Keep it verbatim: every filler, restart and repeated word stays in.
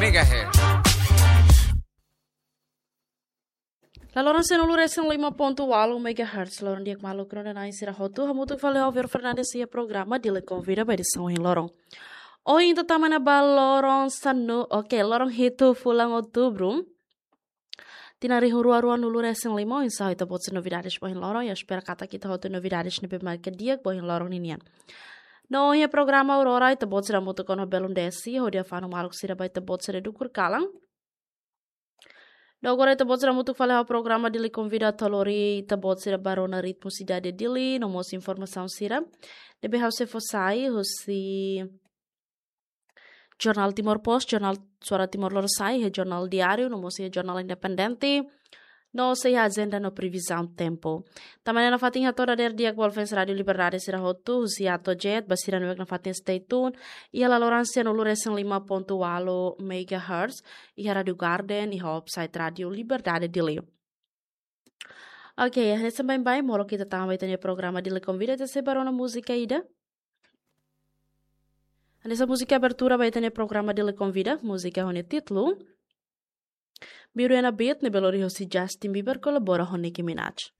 megahertz. La loron sanulu resin lima pontu ualu megahertz, loron di'ak maluk rona na'in sira hotu, hamutuk fali ho Vero Fernandes iha programa Dili Konvida ba edisaun ohin loron. Ohin ita tama ona ba loron sanu, oke, loron hitu fulan Outubru. Tinan rihun rua rua nulu resin lima, oinsá ita-boot sira novidades ba ohin loron, ha'u espera katak ita hotu novidades ne'ebé mak di'ak ba ohin loron ninian. No iha programa Aurora, ita-boot sira hamutuk ona ho belun desi, hodi afanu maluk sira ba ita-boot sira dukur kalan. No agora ita-boot sira hamutuk fali ho programa Dili Konvida atu lori ita-boot sira ba rona ritmu sidade Dili, no mós informasaun sira ne'ebé ha'u sei fó sai husi Jornál Timor Post, Jornál Suara Timor Lorosa'e, iha Jornál Diáriu, no mós iha Jornál Independente, no sei iha ajenda no previzaun tempu. Tanba ne'e nafatin hato'o dadeer di'ak ba fans Rádiu Liberdade sira hotu, husi A to'o Z, ba sira ne'ebé nafatin stay tune iha la loron sanulu resin lima pontu ualu megahertz, iha Rádiu Garden, iha website Rádiu Liberdade Dili. Oke, hanesan baibain, molok ita tama ba ita-nia programa Dili Konvida, ita sei ba rona múzika ida. Hanesan múzika abertura ba ita-nia programa Dili Konvida, múzika ho nia títulu Beauty and a Beat, ne'ebé lori husi Justin Bieber kolabora ho Nicki Minaj.